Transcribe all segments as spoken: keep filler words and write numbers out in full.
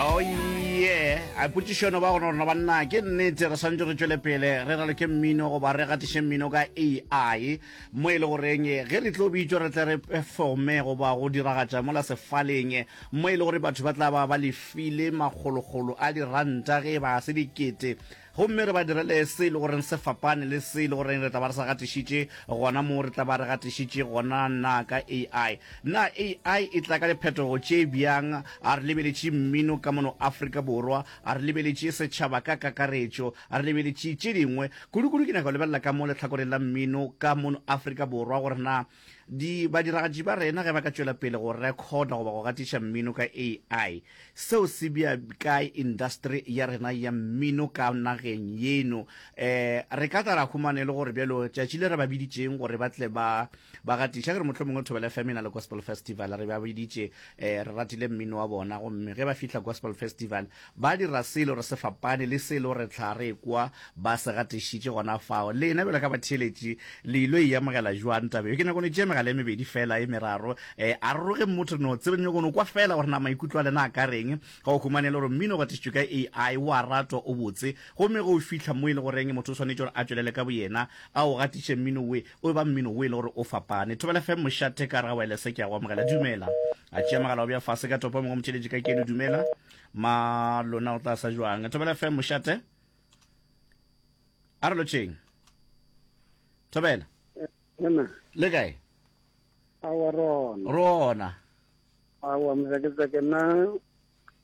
Oh yeah, a potšišono ba gona rona banna ke nnete re swantse re tšwele pele re raloke mmino goba re gatiše mmino ka A I mo e le goreng ge re tlo bitšwa re tle re performe goba go diragatša mola sefaleng mo e le gore batho ba tla ba ba lefile makgolokgolo a diranta ge e ba se dikete, gomme re ba direle se e le goreng se fapane le se e le goreng re tla ba re sa gatišitše gona mo re tla ba re gatišitše gona na ka A I. Na A I e tla ka diphetogo tše bjang? A re lebeletše mmino ka mono Afrika Borwa, a re lebeletše setšhaba ka kakaretšo, a re lebeletše tše dingwe kudu-kudu. Ke nyaka go lebelela ka mo lehlakoreng la mmino ka mono Afrika Borwa gore na di badiragatši ba rena ge ba ka tšwela pele go recorda goba go gatiša mmino ka A I, seo se bja kae industry ya rena ya mmino ka nageng yeno? um re ka tla ra humana e le gore bjalo tšatši le re ba biditšeng gore ba tle ba ba gatiša, ke re mohlomongwe Thobela F M e na le gospel festival, re ba biditše, um re ratile mmino wa bona, gomme ge ba fihla gospel festival ba dira se e le gore se fapane le se e le gore tlha re kwa ba se gatišitše gona fao. Lena bjalo ka batheeletši le ilo e amogela jwang tabe? Ke nyako no tšea megala e mebedi fela e meraro, um a roge motho no tsebe nyako no kwa fela gore na maikutlo a lena a ka reng ga o humane le gore mmino o gatišitšwe ka A I o a ratwa, o botse, gomme ge o fihla mo e le goreng motho o swanetše gore a tšwelele ka boyena a o gatiše mmino we o ba mmino o e le gore o fapane. Thobela F M, mošate ka re ga wireless, ke a go amogela, dumela. A tšea mogala o bja fase ka topo mongwe motšheletše ka keno. Dumela ma lona, o tla sa jwang? Thobela F M, mošate, a re lotšheng. Thobela. Nna. Le kae? Awa, rona. Rona. Awa, mzaketsake, nna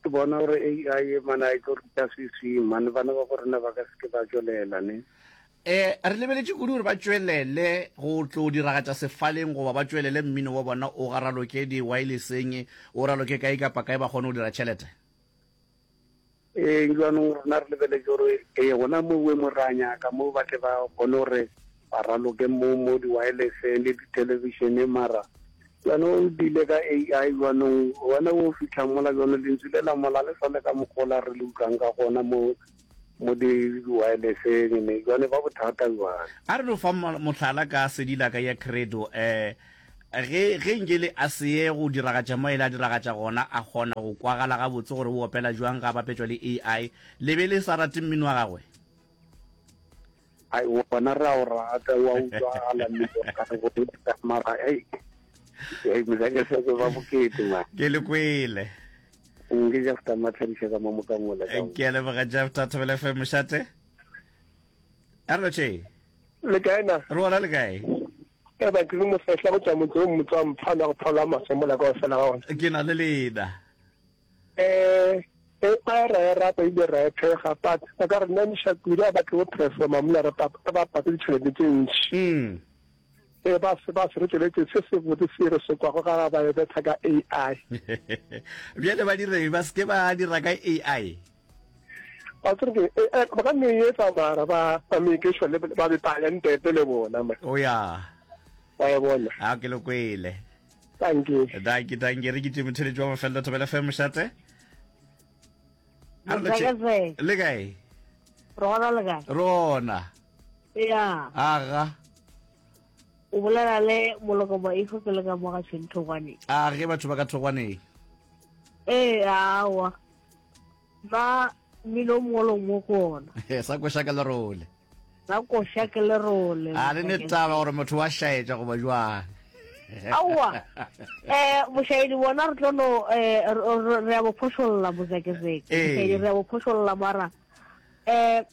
ke bona gore A I mana e tlo ruta seswi mane, bana ba borena ba ka seke ba tswelela ne. um re lebeletše kudu gore ba tšwelele go tlo diragatša sefaleng goba ba tšwelele mmino wa bona o garaloke di-wirelesseng, o raloke kae kapa kae, ba kgone go dira tšhelete. Ee, jaanong rona re lebeletse gore ee, gona mo mo re a nyaka mo ba tle ba kgone gore ba raloke mo mo di-wirelesseng le di-televisioneng, mara jaanong o dile ka A I, jaanong wena o fitlha mola, jaanong lentswe le la mola le sale ka mokgola re le utlwang ka gona mo mo di-wirelesseng ne, jane ba bothata jwale. A re no fa mohlala ka sedila ka ya Credo, um ge ge nke le a seye go diragatša mo e le a diragatša gona, a kgona go kwagala gabotse gore o opela jwang ga bapetšwa le A I, le be le sa rate mmino wa gagwe? Ai, wona re a o rata, wa utlwagala mmino ka go mara ei, mozakeseke ba bokete ma. Ke le kwele. Nke Jafta Matlhadiša ka mo mokamola. Ke a leboga, Jafta. Thobela F M, mošate, a re lotšheng. Le kae na? Re gona, le kae? E ba ke mofehla go tswa motse o motse wa mphano wa go phaola maswe mola ka ofela ga ona. Ke na le lena. um e ba ra e rata ebile ra e thekga, but ba ka re namiša kudu a batle go performa mola re ba pate ditšhelete tše ntši. Mm e ba se ba se re tšweletse se se botse se re se kwago ga ba e betha ka A I. Bjale ba dire ba seke ba dira ka A I? Ba tsere ke ba ka nne etsa, mara ba ba make sure le ba be talente le bona ma. O ya. Ba e bona. A ke le kwele. Thank you. Danke, danke. Re ke tše motheletši wa mafelelo. Thobela F M, mošate. Le kae? Rona, le kae? Rona. Ya. Aga. O bolela le Moloko Maifo, ke le ka mo ga Tšhentogwane. A ge batho ba ka thogwaneng. Ee, awa, ba mmino o mongwe le mongwe ko ona. Sa koša ka lerole. Sa koša ke lerole. A le ne taba gore motho wa šaetša goba jwang? Aowa, um bošaedi bona re tlo no um re ya bo phošolla, mozekezeke. Bošaedi re ya bo phošolla, mara um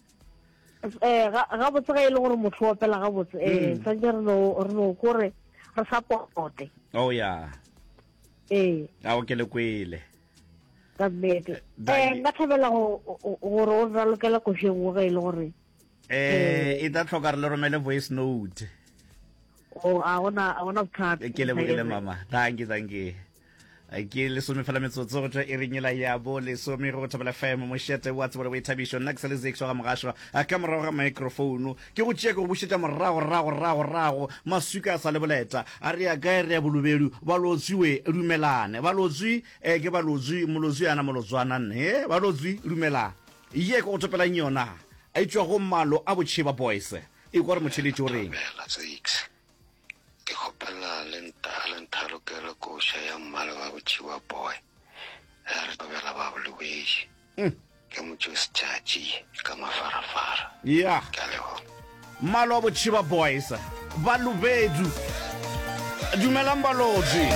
um gabotse ge e le gore motho o opela gabotse, um tshwanetse re no re no kore re supporte. Oh ya. Ee. Ao, ke le kwele. Ka nnete, um nka thabela gore o ralokela košeng wo ge e le gore. Eh, e tla tlhoka re le romele voice note. O a gona, a gona bothata. Ke lebogile mama, thank you, thank you. Ke lesome fela metsotso go tšwa e ringela ya bo lesome go Thobela F M, mošete wa tsebo le boithabišo. Nna ke sa le Zex wa ga Mogašwa ka morago ga microphone. Ke go tšea ke go bušetša morago rago rago rago, maswika a sa le boleta. A re ya kae? Re ya Bolobedu. Balotswiwe dumelane, balotswi um ke balotswi, molotswi ana molotswana nne balotswi dumelang. Ye ke go topelang yona e tšwa go Malo a Botšheba Boys. E kwa re motheletši o reng. Thobela Zakes, ke kgopela le nta le nthalokele koša ya Mmalo wa Botšhiba Boy. Re thobela ba Bolobedu. Mm. Ke motšosetšatši ka mafarafara. Ya. Ke a leboga. Mmalo wa Botšhiba Boys, Balobedu. Dumelang Balotši.